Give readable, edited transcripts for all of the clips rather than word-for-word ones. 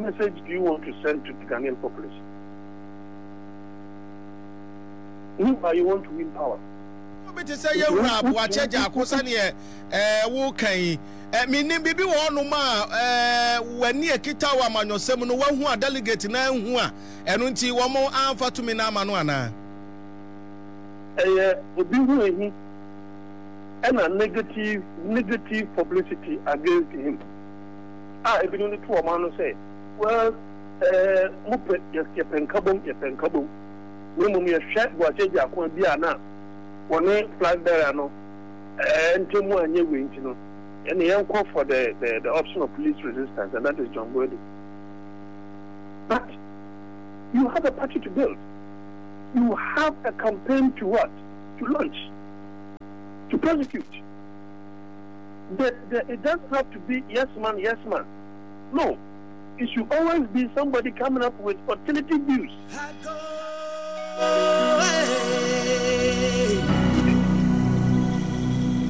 message do you want to send to the Ghanaian population? Meanwhile, you want to win power. Obi te sɛ yɛwura Boakye Agyarko sɛdeɛ ɛɛ woka yi ɛ menim biribi wɔ hɔnom a ɛɛ w'ani akita wɔ amanyɔsɛm no wahu a delegate no anhu a ɛno nti wɔn amfa tumi no ama no anaa? Ɛyɛ obi ho ahi ɛna negative negative publicity against him a ebinom de to wɔn ano sɛ well ɛɛ mopɛ yɛpɛ nkabom yɛpɛ nkabom na mmom yɛhwɛ Boakye Agyarko bi a na wɔne flag bearer no ɛɛ ntamu anyɛ wei nti no ɛne yɛnkɔ for the the the option of least resistance and that is John Boadu but you have a party to build you have a campaign to what to launch to prosecute the, the, it doesn't have to be yes man yes man no it should always be somebody coming up with alternative views.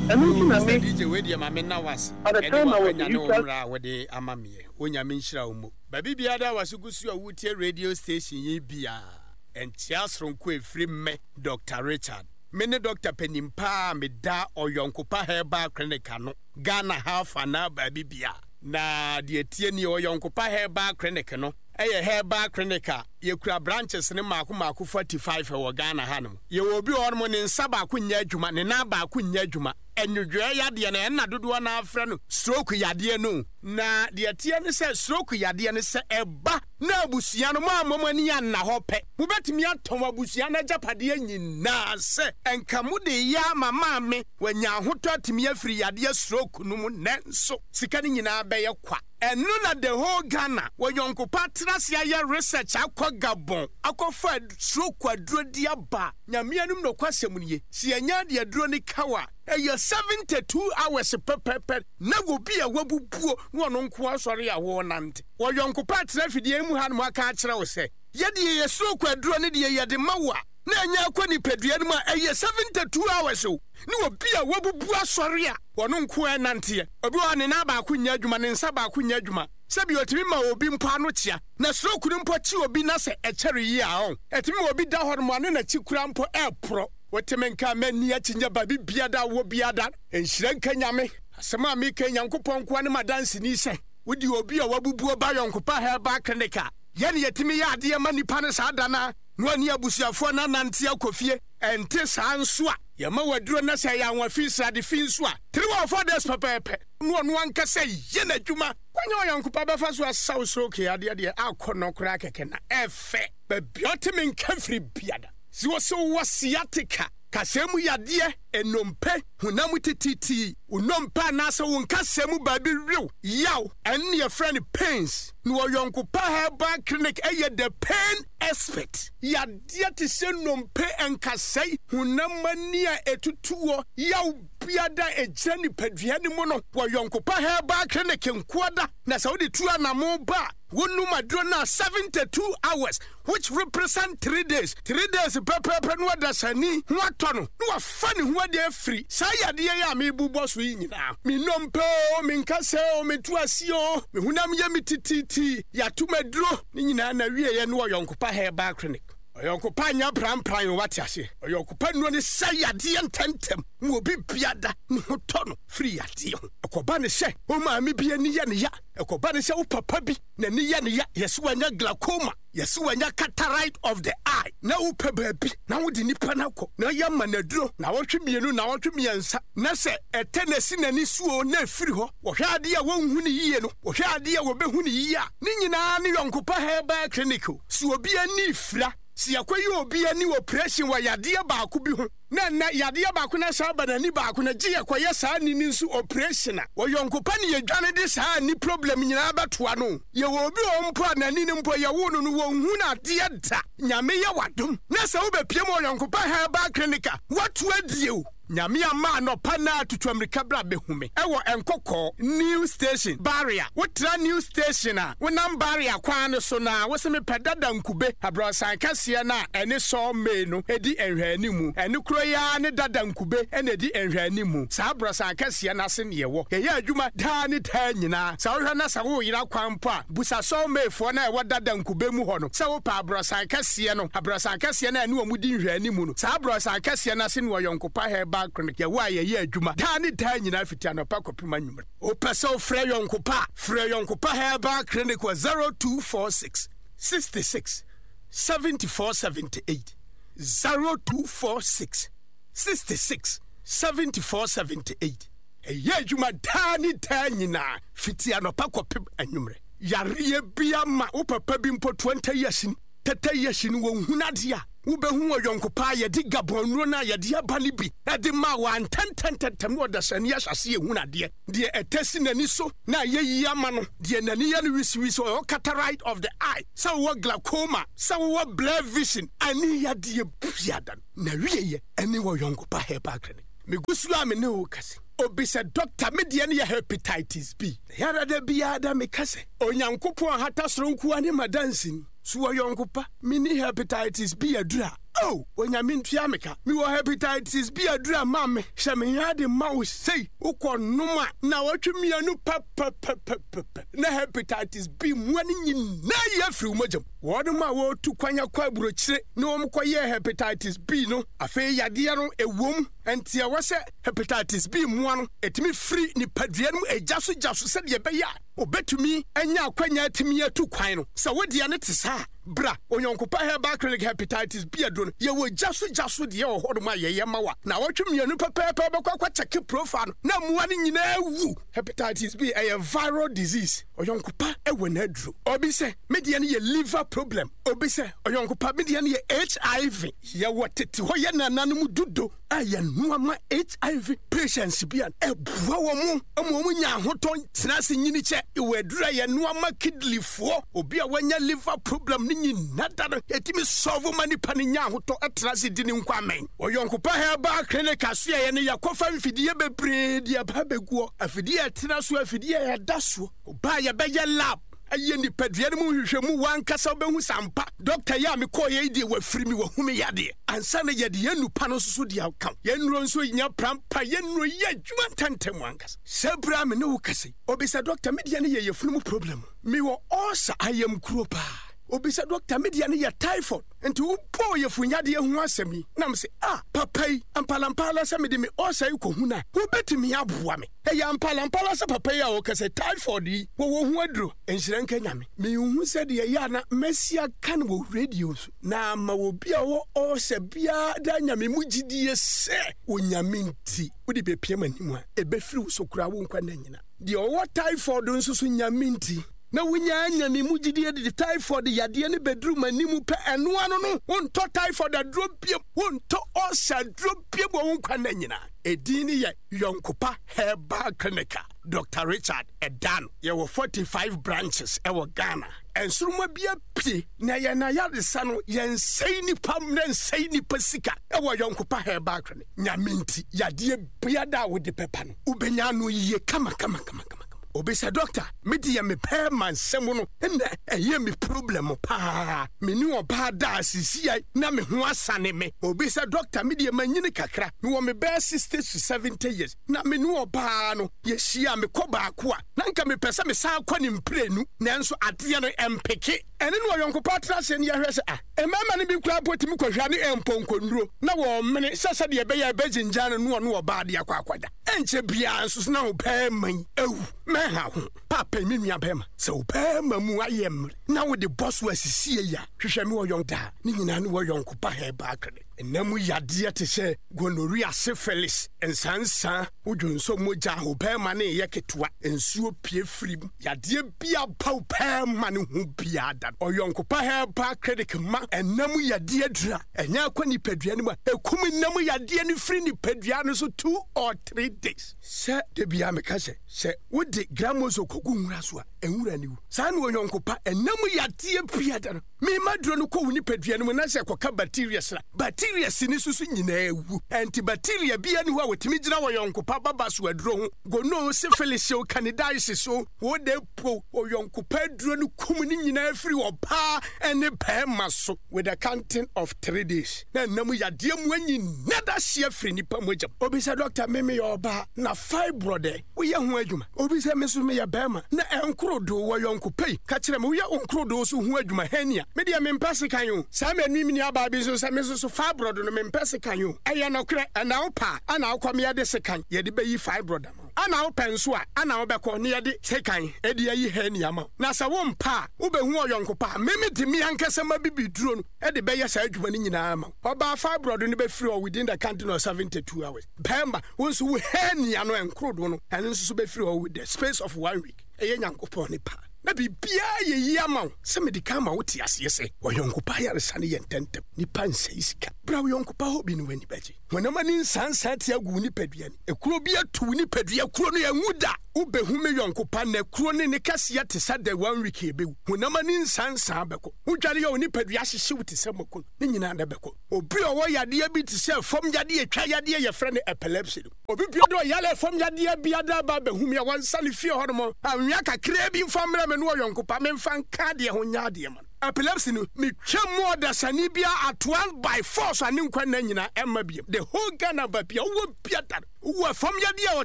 Ɛno nti na me. Mr. DJ wei deɛ ma me nna wase. At the time I was a youth. Ɛne a wɔde ama meɛ. Onyame nhyira wo mo. Baabi biara da wase gu so a wotie radio station yi biara. Nkyea soronko ɛfiri me Dr. Richard. Me ne Dr. panin paa a meda Ɔyɔnkopa Herbal Clinic ano. Ghana ha afa anaa baabi biara. Na deɛ ɛtie nie, Ɔyɔnkopa Herbal Clinic no yɛ herbal clinic a yɛkura branches no mmaako mmaako 45 wɔ Ghana hanom. Yɛwɔ obi wɔ hɔnom ne nsa baako nyɛ adwuma, ne nan baako nyɛ adwuma. Nnwodwoeɛ yadeɛ no, ɛna dodoɔ no ara frɛ no stroke yadeɛ no. Na deɛ ɛteɛ ne sɛ stroke yadeɛ no sɛ ɛba na abusua no moammɔ mo ani anna hɔ pɛ, mobɛtumi atɔn abusua no agyapadeɛ nyinaa sɛ nka mode reyɛ ama maame wanya ahotɔ atumi afiri yadeɛ stroke no mu nanso sika no nyinaa bɛyɛ kwa. Ɛno na the whole Ghana wɔ yɔnkopa atena ase ayɛ research akɔ Gabon akɔfa stroke aduro de aba. Nyame anim nokwasɛm nie, sɛ yɛnya de aduro no ka wo a, ɛyɛ 72 hours pɛpɛpɛ na obi a wabubuo na ɔno nko ara sɔre a ɔrenante. Wɔ yɔnkopa atena afidie yi mu hanom aka akyerɛ wo sɛ, yɛdeɛ yɛ stroke aduro no deɛ yɛde ma wo a, na ɛnyɛ akɔ nipadua no mu a, ɛyɛ 72 hours o, ne obi a wabubu asɔre a ɔno nko ara nanteɛ. Obi wɔ hɔ a ne nan baako nyɛ adwuma, ne nsa baako nyɛ adwuma. Sɛbi otumi ma obi mpo ano kyea, na stroke no mpo kye obi na sɛ ɛkyɛre yie a ɔn, ɛtumi ma obi da hɔ nom a ne n'akyi koraa mpo ɛreporɔ. Wote me nka a m'ani akyi nyɛ baabi biara da wɔ biara da. Nhyira nka Nyame. Asɛm a meka yi Nyankopɔn nkoa ne m'adanseni sɛ wode obi a wabubuo ba Yɔnkopa Herbal Clinic a, yɛne yɛtumi yɛ adeɛ ma nipa no saa da no ara na ɔne abusuafoɔ no anante akɔ fie. Ɛnte saa nso a, yɛma wo aduro na sɛ ɛyɛ anwa fi, srade fi nso a, 3 or 4 days pɛpɛɛpɛ na ɔno ankasa yɛ n'adwuma. Kwan a Ɔyɔnkopa bɛfa so asa wo stroke yadeɛ deɛ akɔ nɔ koraa kɛkɛ na ɛfɛ. Baabi a ɔte me nka firi biada. Sɛ wɔse wowɔ sciatica, kasɛɛ mu yadeɛ, nnompe, honam mu tititi, wo nnompe anaasɛ wo nkasɛɛ mu baabi wew, yaw, ɛno na yɛfrɛ no pains. Na Ɔyɔnkopa Herbal Clinic yɛ the pain expert. Yadeɛ te sɛ nnompe, nkasɛe, honam ani a ɛtutuɔ, yaw biara a ɛgyina nipadua no mu no, wɔ Yɔnkopa Herbal Clinic nkoa da. Na sɛ wode tu anamo ba a, wonom aduro no a 72 hours which represent 3 days, 3 days pɛpɛɛpɛ na ɔdasani ho atɔ no na wafa ne ho adi afiri saa yadeɛ yi a merebobɔ so yi nyinaa. Me nnompe oo, me nkasɛɛ oo, me to aseɛ oo, me honam yɛ me tititi, yɛato me aduro. Ne nyinaa n'awieɛ ne Ɔyɔnkopa Herbal Clinic. Ɔyɔnkopa nyɛ prampran o, wate aseɛ. Ɔyɔnkopa nnuro ne sa yadeɛ ntɛmntɛm ma obi biada ne ho tɔ no firi yadeɛ ho. Ɛkɔba ne sɛ wo maame bi ani yɛ ne ya, ɛkɔba ne sɛ wo papa bi n'ani yɛ ne ya, yɛse wanya glaucoma, yɛse wanya cataract of the eye, na wopɛ baabi na wode nipa no akɔ na yɛama no aduro naawɔtwe mmienu, naawɔtwe mmiɛnsa, na sɛ ɛtɛ na ɛsi n'ani so o na ɛfiri hɔ. Wɔhwɛ adeɛ a wɔnhu no yie no, wɔhwɛ adeɛ a wɔbɛhu no yie a, ne nyinaa ne Yɔnkopa Herbal Clinic o. Sɛ obi ani refira, sɛ yɛakɔyɛ obi ani operation wɔ yadeɛ baako bi ho, na ɛnnɛ yadeɛ baako no asan aba n'ani baako no, gye yɛkɔyɛ saa ani no nso operation a, wɔ Yɔnkopa ne yɛdwane de saa ani problem nyinaa bɛtoa no o. Yɛwɔ obi wɔ hɔ mpo a n'ani no mpo yɛwoo no no wɔnhu no adeɛ da. Nyame yɛ w'adom na sɛ wobɛpiem wɔ Yɔnkopa Herbal Clinic a, woato adie o. Nyame amma anɔpa naa tutu amirika bra bɛhu me ɛwɔ Nkɔkɔɔ new station barrier wo tra new station a wo nam barrier kwan no so naa wo se me pɛ dada nkube abrɔsan kɛseɛ no a ɛne saw may no ɛdi nhwɛanimu ɛno kuro yi ara ne dada nkube ɛna ɛdi nhwɛanimu saa abrɔsan kɛseɛ no ase ne yɛwɔ yɛyɛ adwuma daa ne daa nyinaa sɛ wohwɛ na sɛ wo yera kwan mpo a busa saw may foɔ no a ɛwɔ dada nkube mu hɔ no sɛ wo pɛ abrɔsan kɛseɛ no abrɔsan kɛseɛ no a ɛne wɔn di nhwɛanimu no saa abrɔsan kɛseɛ no ase ne Ɔyɔnkopa Herbal Clinic yɛwɔ a yɛyɛ adwuma daa ne daa nyinaa fiti anɔpa kɔpem anwummere. Wopɛ sɛ wofrɛ Yɔnkopa a, frɛ Yɔnkopa Herbal Clinic wɔ 0246 66 74 78, 0246 66 74 78. Ɛyɛ adwuma daa ne daa nyinaa fiti anɔpa kɔpem anwummere. Yareɛ bi ama wo papa bi mpo 20 years ni. Tɛtɛ yɛ hye no wɔnhunu adeɛ a, wobɛhu ɔyɔnko paa yɛde Gabon nnuro no a yɛde aba no bi de maa wɔ antɛntɛntɛntɛm na ɔdasani ahyɛ aseɛ ehunu adeɛ. Deɛ ɛtɛ si n'ani so na ayɛ yie ama no, deɛ n'ani yɛ no wisiwisi, ɔwɔ cataract of the eye, sɛ wowɔ glaucoma, sɛ wowɔ blur vision, ani yadeɛ biada no, n'awieɛ ɛne ɔyɔnko pa herbal clinic. Megu so a me ne wo rekasa yi, obi sɛ dɔkta me deɛ no yɛ hepatitis B. Na yɛara da biara da meka sɛ, Onyankopɔn ahata soro nkoa ne m'adanseni. So wɔ yɔnko pa? Menni hepatitis B aduru a. Oh, Onyame ntua me ka. Mewɔ hepatitis B aduru a ma me. Hyɛ me ade ma wo sei. Wokɔ nom a, nnawɔtwe mmienu pɛpɛpɛpɛpɛ na hepatitis B mmoa no nyinaa yi afiri wo mogya mu. Wɔnom a wɔretu kwan akɔ aburokyire na wɔkɔyɛɛ hepatitis B no, afei yadeɛ no ɛwom. Ɛnti ɛwɔ sɛ hepatitis B mmoa no ɛtumi firi nipadua no mu gya so gya so sɛdeɛ ɛbɛyɛ a Obetumi anya akwanya atumi atu kwan no. Sɛ wo deɛ no te saa a, bra Onyɔnkopa Herbal Clinic Hepatitis B aduro no. Yɛwɔ gya so gya so deɛ wɔ hɔnom a yɛyɛ ma wo a, naawɔtwe mmienu pɛpɛɛpɛ wobɛkɔ akɔ kyɛke profile no na mmoa no nyinaa awu. Hepatitis B ɛyɛ viral disease. Ɔyɔnkopa wɔ n'aduro. Obi sɛ, me deɛ no yɛ liver problem. Obi sɛ, Ɔyɔnkopa, me deɛ no yɛ HIV. Yɛwɔ tete hɔ yɛ nananom dudo a yɛnoa ma HIV patients bi a ɛboa wɔn ma wɔn nya ahotɔ tena ase nyini kyɛ. Wɔ aduru a yɛnoa ma kidneyfoɔ, obi a wanya liver problem ne nyina da no, yɛtumi solve ma nipa no nya ahotɔ tena ase di ne nkwa amɛn. Ɔyɔnkopa Herbal Clinic asoɛeɛ no yɛkɔfa mfidie bebree de aba abɛguɔ, afidie a ɛtena so, afidie a ɛda soɔ. Ɔba a yɛbɛyɛ lab. Yɛ nipadua no mu nhwehwɛmu w'ankasa wobɛhu sɛ ampa dɔkta yi a mekɔɔeɛ yi deɛ wafiri me, wahu me yadeɛ. Ansa na yɛde yɛn nnupa no nso so de aka ho. Yɛn nnuro nso nya prampa, yɛn nnuro yɛ adwuma ntɛmntɛm ankasa. Saa berɛ a me ne wo kasa yi, obi sɛ dɔkta me deɛ no yɛ yafunu mu problem, mewɔ ulcer, ayamkuro paa. Obi sɛ dɔkta me deɛ no yɛ typhoid. Nti wobɔɔ yafunu yadeɛ ho asɛm yi na mese ah papa yi ampalampala sɛ mede me ulcer yi kɔhu no a wobɛtumi aboa me. Ɛyɛ ampalampala sɛ papa yi a ɔka sɛ typhoid yi wɔwɔ ho aduro. Nhyira nka Nyame. Menhu sɛdeɛ ɛyɛ a na masi aka no wɔ radio so na ama obi a ɔwɔ ulcer biara de anya me mu gyidie sɛ Onyame nti wode bɛpia m'anim a ɛbɛfiri wo so koraa wo nkwa nna nyina. Deɛ ɔwɔ typhoid nso so Nyame nti na wonya anya me mu gyidie de typhoid yadeɛ no bɛduru m'anim pɛ ɛno ano no wontɔ typhoid aduro biom, wontɔ ulcer aduro biom wɔ wo nkwa nna nyinaa. Edin no yɛ Yɔnkopa Herbal Clinic a Dɔkta Richard da ano. Yɛwɔ 45 branches wɔ Ghana. Nsoromma bi apue na yɛn ayaresa no, yɛnsɛe nnipa mmerɛ nsɛe nnipa sika wɔ Yɔnkopa Herbal Clinic. Nyame nti, yadeɛ biara a wode bɛba no, wobɛnya ano yie kama kama kama kama. Obi sɛ doctor me deɛ me bɛɛma nsɛm no na ɛyɛ me problem paa me ne ɔbaa daa sisiai na me ho asane me. Obi sɛ doctor me deɛ manyini kakra me wɔ me bɛɛ 60 to 70 years na me ne ɔbaa no yɛ hyia me kɔ baako a na nka me pɛ sɛ me san kɔ ne mprenu nanso adeɛ no ɛmpeke. Ɛne no ɔyɔnko pa tra ase na yɛhwɛ sɛ a mmarima no bi koraa mpo tumi kɔhwɛ ne mpɔnkɔnnuro na wɔmene sɛ sɛdeɛ ɛbɛyɛ a ɛbɛgyingyan no na ɔne ɔbaa de akɔ akɔda. Ɛnkyɛ biara nso so na wo barima yi awu. Mɛnha ho. Paapa yi, me nua barima, sɛ wo barima mu ayɛ mmerɛ na wode bɔ so asisie yi a, hwehwɛ me wɔ yɔnko daa. Ne nyinaa ne wɔ yɔnko pa herbal clinic. Nna mu yadeɛ te sɛ gonorrhea, syphilis, nsansa, wo dwonsɔ mogya, wo barima no reyɛ ketewa, nsuo pue firi mu, yadeɛ bi aba wo barima no ho biara da no, ɔyɔnko pa herbal clinic ma nna mu yadeɛ aduru a ɛnyɛ akɔ nipadua no mu a ɛkum nna mu yadeɛ no firi nipadua no so 2 or 3 days. Sɛ da biara meka sɛ, sɛ wode. Gramoxone kɔgu nwura so a, nwura no wu. Saa na ɔyɔnko pa, ɛnna mu yadeɛ biara no, mema duro no kɔ wo nipadua no mu na sɛ ɛkɔka bacterias a, bacterias no nso so nyinaa wu. Antibacteria biara nni hɔ a wɔtumi gyina ɔyɔnko pa baba so aduro ho. Gono, syphilis o, candidiasis o, wo de po ɔyɔnko pa aduro no kum ne nyinaa firi ɔbaa ne barima so with a counting of 3 days. Na ɛnna mu yadeɛ mu nyinaa da hyeɛ firi nipa mogya mu. Obi sɛ, Dɔkta, me meyɛ ɔbaa na fibroid ɛ? Woyɛ ho adwuma? Obi sɛ, Me nso meyɛ barima na ɛnkorodo wɔ yɔnko pɛ yi. Ka kyerɛ me, woyɛ wo nkorodo so ho adwuma? Hernia. Me deɛ mempɛ sekan o. Saa manu me nuabaa bi nso sɛ me nso so fibroid no mempɛ sekan o. Ɛyɛ nɔkorɛ, ɛna wopɛ a ɛna wokɔ me yɛde sekan yɛde bɛyi fibroid ama wo. Ɛna wopɛ nso a ɛna wobɛkɔ ne yɛde sekan de ayi hernia ama wo. Na sɛ wompɛ a wobɛhu ɔyɔnko pa a me mede me ankasa m'abibiduro no de bɛyɛ saa adwuma no nyinaa ama wo. Ɔbaa fibroid no bɛfiri hɔ within the counting of 72 hours. Bɛrima, wo nso wo hernia no ɛnkorodo no ɛno nso so bɛfiri hɔ with the space of one week. Ɛyɛ Nyankopɔn ne pa na biribiara yɛ yie ama wo. Sɛ mede kan ma wote aseɛ sɛ ɔyɔnko pa ayaresa no yɛ ntɛmntɛm. Nipa nsɛe sika. Bra wo yɔnko pa hɔ bi na w'ani bɛgye. Honam ani nsansan te agu wo nipadua ni. Ekuro bi atu wo nipadua kuro no ɛnwu da. Wobɛhu me yɔnko pa nnɛ kuro no ne kɛseɛ te sɛ dɛ one week ɛbɛwu. Honam ani nsansan bɛkɔ. Wodware a wo nipadua hyehye wo te sɛ mako no, ne nyinaa na ɛbɛkɔ. Obi a ɔwɔ yadeɛ bi te sɛ fam yadeɛ, twa yadeɛ yɛfrɛ no epilepsy no. Obi biara a ɔyare fam yadeɛ biara ba bɛhu me a, wɔnsa no fie hɔnom anwea kakraa bi mfa mmrɛ me ne ɔyɔnko pa memfa nka adeɛ ho nyɛ adeɛ ma no. Epilepsy no, metwa mu ɔdasani biara at once by force a ne nkwa nna nyinaa ɛmma biom. The whole Ghana baabi a wowɔ biara no, wowɔ fam yadeɛ a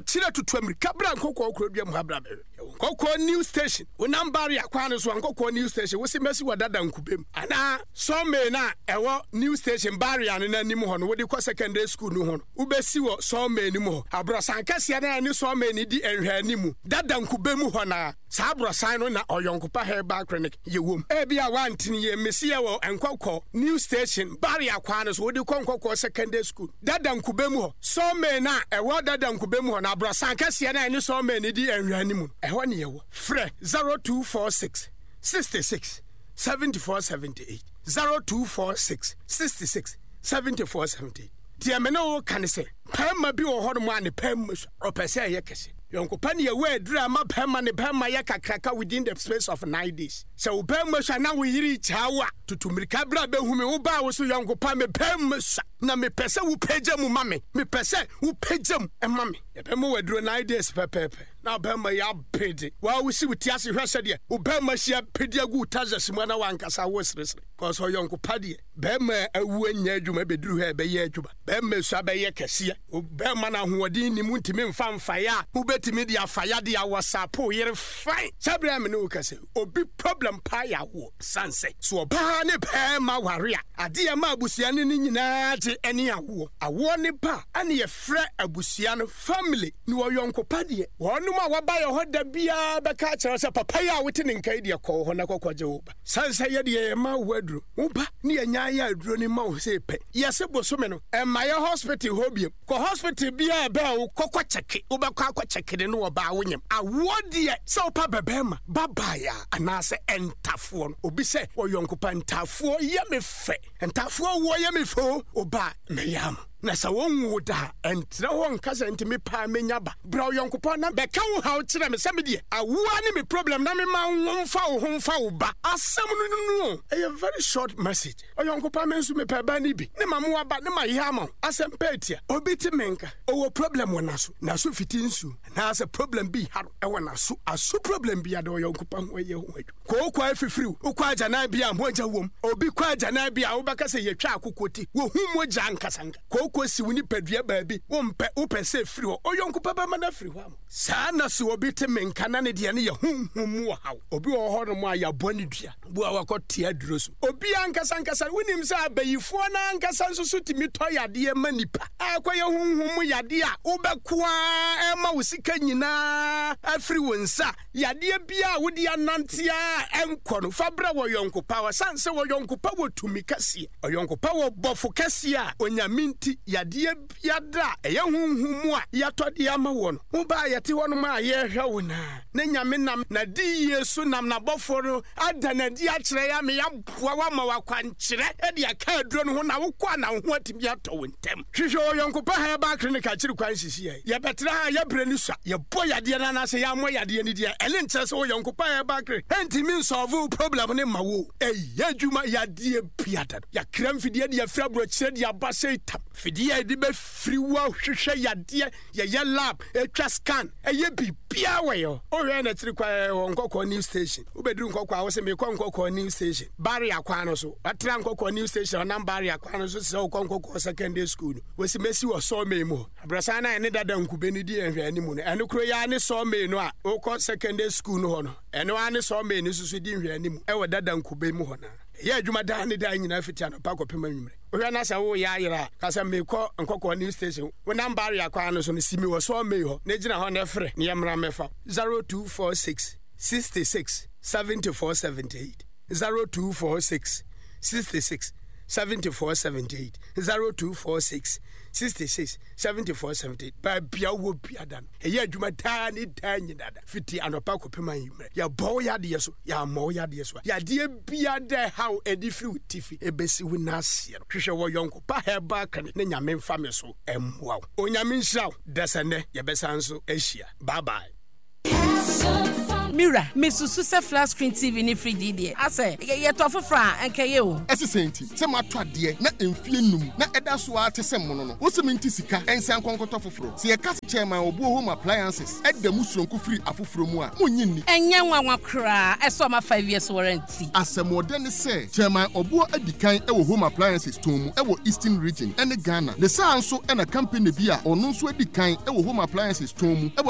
ɔkyerɛ tutu amirika bra Nkɔkɔɔ kurodua mu ha bra bɛhwɛ. Yɛwɔ Nkɔkɔɔ new station, wonam barrier kwan no so a Nkɔkɔɔ new station, wose mɛsi wɔ dada nkubem anaa Sawmill no a ɛwɔ new station barrier no n'anim hɔ no, wode kɔ secondary school no ho no, wobɛsi wɔ sawmill no mu hɔ. Aborɔsan kɛseɛ no a ɛne sawmill no di nhwɛanimu dada nkube mu hɔ no ara, saa aborɔsan no na Ɔyɔnkopa Herbal Clinic yɛ wom. Ebia woante yie, mese yɛwɔ Nkɔkɔɔ new station barrier kwan no so, wode kɔ Nkɔkɔɔ secondary school dada nkube mu hɔ. Sawmill no a ɛwɔ dada nkube mu hɔ no, aborɔsan kɛseɛ no a ɛne sawmill no di nhwɛanimu no, ɛhɔ ne yɛwɔ. Frɛ 0246 66 74 78, 0246 66 74 78. Deɛ me ne wo ka ne sɛ, barima bi wɔ hɔnom a ne pɛn sua, ɔpɛ sɛ ɛyɛ kɛse. Yɔnko pa ne yɛwɔ aduru ama barima ne barima yɛ kakraka within the space of 9 days. Sɛ wo barima sua na wo yere kyaa wo a, tutu mmirika bra bɛhu me. Wo baa wo so yɔnko pa, me barima sua na mepɛ sɛ wopagya mu ma me. Mepɛ sɛ wopagya mu ma me. Yɛbɛma wo aduro 9 days pɛpɛɛpɛ na barima yi abede. Waa wosi wo ti ase hwɛ sɛdeɛ wo barima si apedi agu wo tazas mu ana wankasa wo seresere. Kɔsɛ ɔyɔnko pa deɛ, barima a awu anya adwuma bɛduru hɔ a ɛbɛyɛ adwuma. Barima sua bɛyɛ kɛseɛ. Barima no ahoɔden nnim, wontumi mfa mfaeɛ a wobɛtumi de afa yadeɛ a wɔsapo yere fine. Saa berɛ a me ne wo kasa yi, obi problem paa yɛ awoɔ. Sane sɛ, so ɔbaa ne barima ware a, adeɛ a ɛma abusua no ne nyinaa gye ne awoɔ. Awoɔ ne ba a, ɛne yɛfrɛ abusua no family. Ne ɔyɔnko pa deɛ, wɔnom a wɔba yɛ hɔ da biara bɛka akyerɛ wo sɛ, papa yi a wote ne nka yi deɛ, kɔ wo hɔ na kɔkɔgye wo ba. Sane sɛ yɛdeɛ yɛma wo aduro, wo ba ne yɛnya yɛ aduro no ma wo sei pɛ. Yɛse bosome no, mma yɛ hospital hɔ biom. Kɔ hospital biara a ɛbɛn wo kɔkɔ kyɛke. Wobɛkɔ akɔ kyɛke no ne ɔbaa wo nyem. Awoɔ deɛ, sɛ wopa bɛbɛɛma, babaeɛ anaasɛ ntafoɔ no, obi sɛ ɔyɔnko pa ntafoɔ yɛ me fɛ. Ntafoɔ woɔ yɛ me fɛ o, wo ba a, mɛyɛ ama. Na sɛ wonwoo da a, ɛntena hɔ nka sɛ nti me paa mɛnya ba. Bra ɔyɔnko pa na bɛka wo haw kyerɛ me sɛ me deɛ, awoɔ ne me problem na mema wo mfa wo ho mfa wo ba. Asɛm no no o, ɛyɛ very short message. Ɔyɔnko pa me nso mepɛ ba no bi ne ma mo aba ne ma yɛ ama wo. Asɛm pa atia. Obi te me nka, ɔwɔ problem wɔ n'aso, n'aso fiti nsuo anaasɛ problem bi ha no ɛwɔ n'aso, aso problem bi ada ɔyɔnko pa ho ɛyɛ ho adwuma. Kooko afifiriw, wokɔ agyanan bi a mogya wom. Obi kɔ agyanan bi a wobɛka sɛ yɛtwa akokɔ ti, wohu mogya ankasanka. Kooko si wo nipadua baabi, wompɛ, wopɛ sɛ ɛfiri hɔ. Ɔyɔnko pa bɛma no afiri hɔ ama wo. Saa na sɛ obi te me nka na ne deɛ no yɛ honhom mu ɔhaw. Obi wɔ hɔnom a yɛabɔ ne dua, bu a wakɔ te aduro so. Obi ankasa ankasa, wonim sɛ abayifoɔ no ankasa nso so tumi tɔ yadeɛ ma nipa. Akɔyɛ honhom mu yadeɛ a wobɛko ara ɛma wo sika nyinaa afiri wo nsa. Yadeɛ biara a wode anante ara a ɛnkɔ no, fa brɛ wɔ yɔnko pa. Ɔsane sɛ ɔyɔnko pa wɔ tumi kɛseɛ. Ɔyɔnko pa wɔ bɔfo kɛseɛ a Onyame nti. yadeɛ biada a ɛyɛ honhom mu a yɛatɔ de ama woɔ no, wo ba a yɛte hɔnom a yɛrehwɛ wo no a, na Nyame nam N'adiyie so nam N'abɔfoɔ no ada no adi akyerɛ yɛn ama yɛaboa wo ama wo akwankyerɛ de aka aduro no ho na wokɔ a na wo ho atumi atɔ wo ntɛm. Hwehwɛ Ɔyɔnko Pa Herbal Clinic akyiri kwan sisi yɛn. Yɛbɛtena ha a yɛbrɛ no sua, yɛbɔ yadeɛ no anaasɛ yɛammɔ yadeɛ no din a, ɛno nkyerɛ sɛ Ɔyɔnko Pa Herbal Clinic ntumi nsɔlve wo problem no mma wo o. Ɛyɛ adwuma yadeɛ biada no. Yɛakra mfidie de afiri aburokyire de aba sei tam. Fidie a yɛde bɛfiri wo ahwehwɛ yadeɛ, yɛyɛ lab, ɛtwa scan, ɛyɛ biribiara wɔ yɛ hɔ. Wohwɛ yɛn akyiri kwan yɛwɔ Nkɔkɔɔ New Station. Wobɛduru Nkɔkɔɔ a wose mekɔ Nkɔkɔɔ New Station. Barrier kwan no so. Watra Nkɔkɔɔ New Station ɔnam Barrier kwan no so te sɛ wokɔ Nkɔkɔɔ Secondary School no. Wosi mɛsi wɔ Sawmill mu hɔ. Abrɔsan no a ɛne dada nkube no di nhwɛanimu no, ɛno koro yi ara ne Sawmill no a wokɔ Secondary School no hɔ no. Ɛno ara ne Sawmill no nso so di nhwɛanimu wɔ dada nkube mu hɔ no ara. Ɛyɛ adwuma daa ne daa nyinaa fiti anɔpa kɔpem anwummere. Wohwɛ na sɛ woreyɛ ayera a, ka sɛ, Merekɔ Nkɔkɔɔ New Station. Wonam Barrier kwan no so no, si me wɔ Sawmill hɔ na gyina hɔ na frɛ na yɛmmra mmɛfa wo. 0246 66 74 78 0246 66 74 78 0246 66 74 78 Baabi a wowɔ biada no, ɛyɛ adwuma daa ne daa nyinaa da, fiti anɔpa kɔpem anwummerɛ. Yɛbɔ wo yadeɛ so, yɛammɔ wo yadeɛ so a, yadeɛ biara da ɛhaw ɛde firi wo tifi ɛbɛsi wo nan aseɛ no, hwehwɛ wɔ yɔnko pa herbal clinic na Nyame mfa me so mmoa wo. Onyame nhyira wo. Dasɛ nnɛ yɛbɛsan nso ahyia. Bye bye. Me wura, mesusu sɛ flat screen TV ne fridge yi deɛ, asɛ yɛtɔ foforɔ a, anka ɛyɛ o. Ɛse sɛn nti? Sɛ matɔ adeɛ na mfie num na ɛda so ara te sɛ mono no, wose mente sika nsan nkɔ nkɔtɔ foforɔ? Sɛ yɛka sɛ Chairman Obuo Home Appliances da mu soronko firi afoforɔ mu a, monnye nni. Ɛnyɛ nwanwa koraa sɛ ɔma 5 years warranty. Asɛmɔdɛ ne sɛ, Chairman Obuo adi kan wɔ Home Appliances tɔn mu wɔ Eastern Region ne Ghana. Ne saa nso na company bi a ɔno nso adi kan wɔ Home Appliances tɔn mu wɔ.